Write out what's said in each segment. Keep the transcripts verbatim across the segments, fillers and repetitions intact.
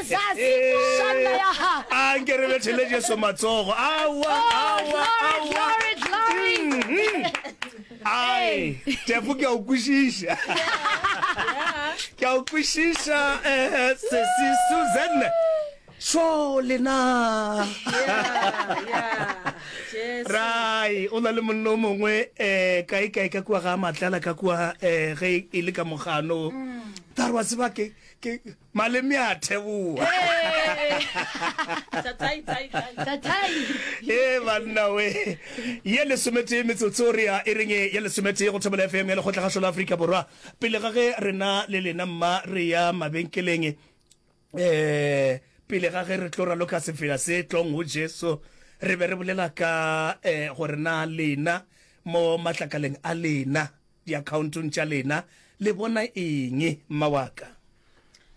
Jesus. Shanda ya ha. A nke re bethele Jesu matsogo. Aowa, Oh, aowa, glory, aowa. glory, glory. Mhm. Ai, Tefo ke a o kwešiša. Ke a o kwešiša eh sesi Susan. Sho lena. Yeah, yeah. Jesu. Rai, o na le monna o mongwe eh kae kae ka kua ga matlala ka kua eh ge e le ka mogano. Tare wa tseba ke ke maleme a theboa. Tatai, tai, tai. Tatai. e banna we ye lesometee metsotso re ya e reng ye lesometee go Thobela F M ya Lekgotlagašo la Afrika Borwa. Pele ga ge rena le lena mma re ya mabenkeleng, eh pele ga ge re tlo raloka sefela se tlong go Jesu, re be re bolela ka eh gore na lena mo matlakaleng a lena, diaccountong tša lena, le bona eng, mma wa ka?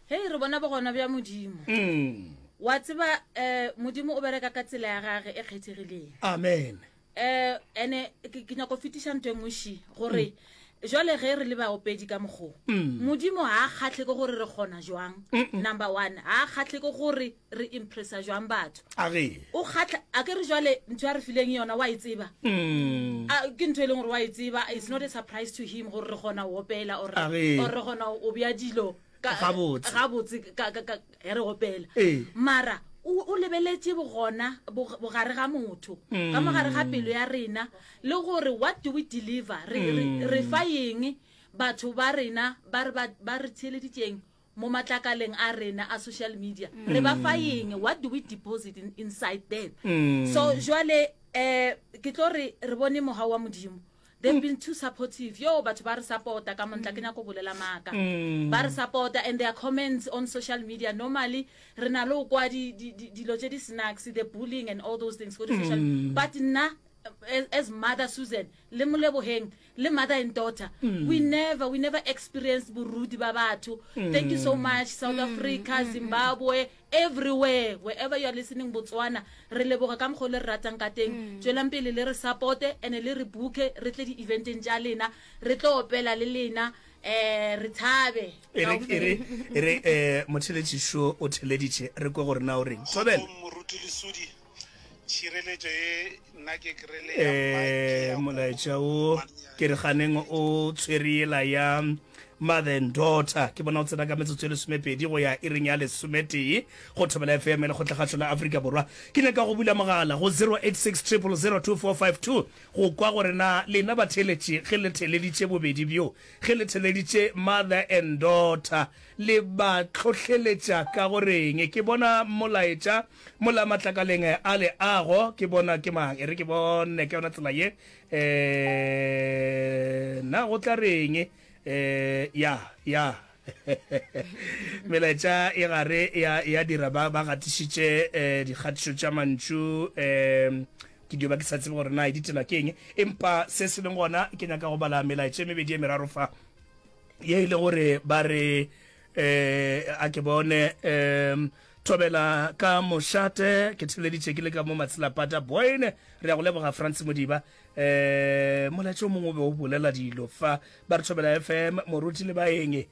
Hei, re bona bogona bja Modimo. Mm. Wa tseba, eh, Modimo o bereka ka tsela ya gage e kgethegileng. Amen. Eh, ene ke, ke nyako fetiša ntho e nngwe ši, gore jwale ge re le baopedi ka mokgo, Mm. Modimo ha a kgahle ke gore re kgona jwang. Number one, ha a kgahle ke gore re impressa jwang batho. A ge. O kgatlha, a ke re jwale ntho ya re fileng yona wa e tseba. Mm. A, ke ntho e leng gore wa e tseba, it's not a surprise to him gore re kgona ho opela or A ge. or re kgona ho bea dilo ka Gabotse. gabotse ka, ka, ka, ge re opela. Ee. Mara o, o lebeletše bogona, bog-, bogare ga motho, ka mogare ga pelo ya rena, le gore what do we deliver, re, re, re fa eng batho ba rena ba re, ba, ba re theeleditšeng mo matlakaleng a rena a social media, re ba fa eng, what do we deposit in, inside them. Mm. So jwale, eh, ke tlo re, re bone mohau wa Modimo. They've been too supportive. Yo, batho ba re supporta ka montla, ke nyako bolela maaka. Mm. Ba re supporta, and their comments on social media normally re na le ho kwa di, di, di, dilo tse di snacks, the bullying and all those things go di social. Mm. But nna, as, as mother Susan, le Moleboheng, le mother and daughter, Mm. we never, we never experienced borudi ba batho. Thank you so Mm. much, South Africa, Zimbabwe, everywhere, wherever you are listening, Botswana, re leboga ka mokgwa o le re ratang ka teng. Tswelang pele le re supporte, and le re booke, re tle di-eventeng tša lena, re tlo opela le lena, eh, re thabe. E re, e re, e re, eh, motheletšišo o theleditše, re kwe gore na o reng. Thobela. Moruti Lesodi, tšhireletšo e nna ke kry-ile ya Eh, molaetša o ke re ganeng o tshwere yela ya mother and daughter. Ke bona o tsena ka metsotso e lesomepedi go ya iring ya lesometee go Thobela F M ya Lekgotlakgašo la Afrika Borwa. Ke nyaka go bula mogala go zero eight six triple zero two four five two go kwa gore na lena batheeletši ge le theeleditše bobedi bjo, ge le theeleditše mother and daughter, le ba hlohleletša ka goreng. Ke bona molaetša mola matlakaleng a leago, ke bona ke mang, e re ke bone ke yona tsela ye, eh, na go tla reng, eh, ya, ya. Melaetša e gare ya, ya dira ba, ba gatišitše, eh, dikgatišo tša mantšu, eh, ke dio ba ke sa tsebe gore na e ditela ke eng, empa se se leng gona ke nyaka go bala melaetša e mebedi e meraro fa ye e le gore ba re, eh, a ke bone, eh, Thobela ka mošate, ke theleditše ke le ka mo Matshelapata Boyne, re ya go leboga Frans Modiba. Eh, molaetša o mongwe o be o bolela dilo fa, ba re Thobela F M, moruti le baeng,